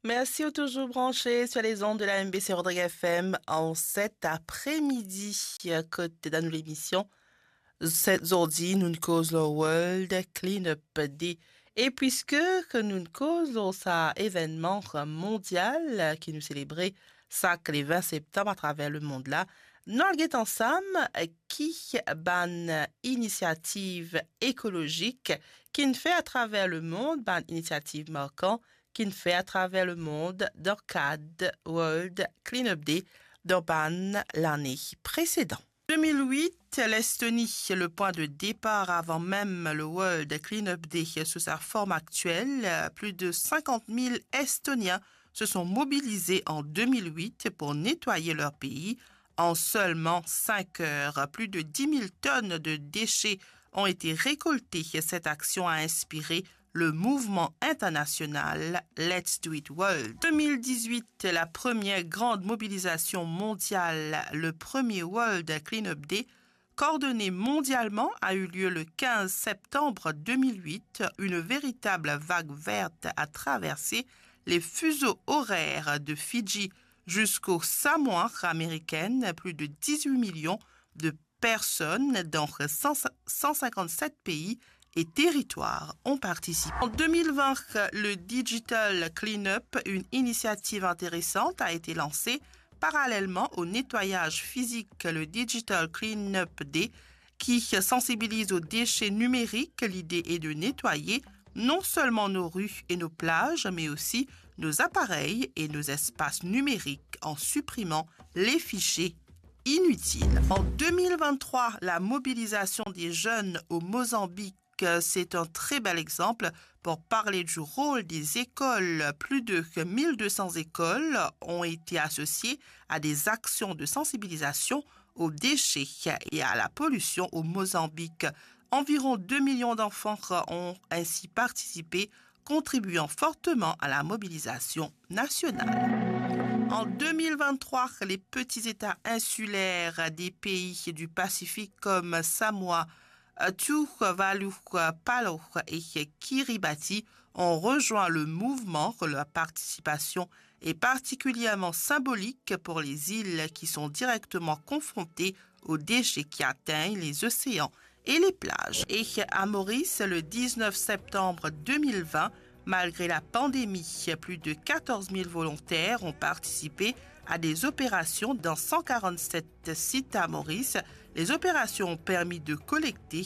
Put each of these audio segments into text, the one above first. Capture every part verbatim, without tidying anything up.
Mersi ou touzour branche sur les ondes de la M B C Rodrigues F M an set apremidi, kot dan nou lemision. Set zordi, nou'nn koz lor World Cleanup Day. E piske ke nou'nn koz lor sa evennman mondial ki nou selebre sak le vin septam atraver lemond la, nou al get ansam ki bann inisiativ ekolozik ki'nn fer atraver lemond, bann inisiativ markan ki'nn fer atraver lemond dan kad World Cleanup Day dan bann lane presedan. De mil wit, Lestoni, le pwin de depar avan mem le World Cleanup Day sou sa form aktiel, plis de sinkant mil Estonien se sont mobilisés en deux mille huit pour nettoyer leur pays. En seulement cinq heures, plus de dix mille tonnes de déchets ont été récoltées. Cette action a inspiré le mouvement international Let's Do It World. Deux mille dix-huit, la première grande mobilisation mondiale, le premier World Cleanup Day, coordonné mondialement, a eu lieu le quinze septembre deux mille huit. Une véritable vague verte a traversé les fuseaux horaires de Fidji jusqu'aux Samoa américaines. Plus de dix-huit millions de personnes dans cent, cent cinquante-sept pays et territoires ont participé. En deux mille vingt, le Digital Cleanup, une initiative intéressante, a été lancée parallèlement au nettoyage physique, le Digital Cleanup Day, qui sensibilise aux déchets numériques. L'idée est de nettoyer non seulement nos rues et nos plages, mais aussi nos appareils et nos espaces numériques en supprimant les fichiers inutiles. En deux mille vingt-trois, la mobilisation des jeunes au Mozambique, c'est un très bel exemple pour parler du rôle des écoles. Plus de mille deux cents écoles ont été associées à des actions de sensibilisation aux déchets et à la pollution au Mozambique. Environ deux millions d'enfants ont ainsi participé, contribuant fortement à la mobilisation nationale. En deux mille vingt-trois, les petits États insulaires des pays du Pacifique comme Samoa, Tuvalu, Palau et Kiribati ont rejoint le mouvement. Leur participation est particulièrement symbolique pour les îles qui sont directement confrontées aux déchets qui atteignent les océans et les plages. Et à Maurice, le dix-neuf septembre deux mille vingt, malgré la pandémie, plus de quatorze mille volontaires ont participé à des opérations dans cent quarante-sept sites à Maurice. Les opérations ont permis de collecter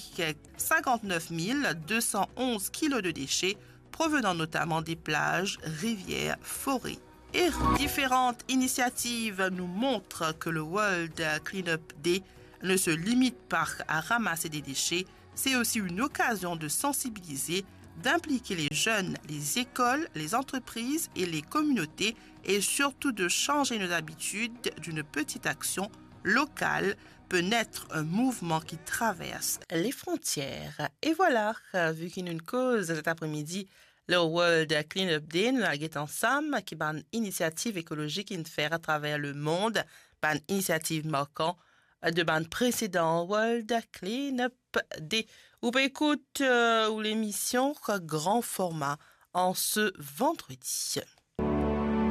cinquante-neuf mille deux cent onze kilos de déchets provenant notamment des plages, rivières, forêts et rues. Différentes initiatives nous montrent que le World Cleanup Day ne se limite pas à ramasser des déchets, c'est aussi une occasion de sensibiliser, d'impliquer les jeunes, les écoles, les entreprises et les communautés et surtout de changer nos habitudes. D'une petite action locale peut naître un mouvement qui traverse les frontières. E vwala, vi ki nou'nn koz set apremidi lor World Cleanup Day, nou al get ansam ki bann inisiativ ekolozik inn fer atraver lemond, bann inisiativ markan de bann presedan World Cleanup Day. Ou pe ekout, euh, ou lemision Gran Forma an se vandredi.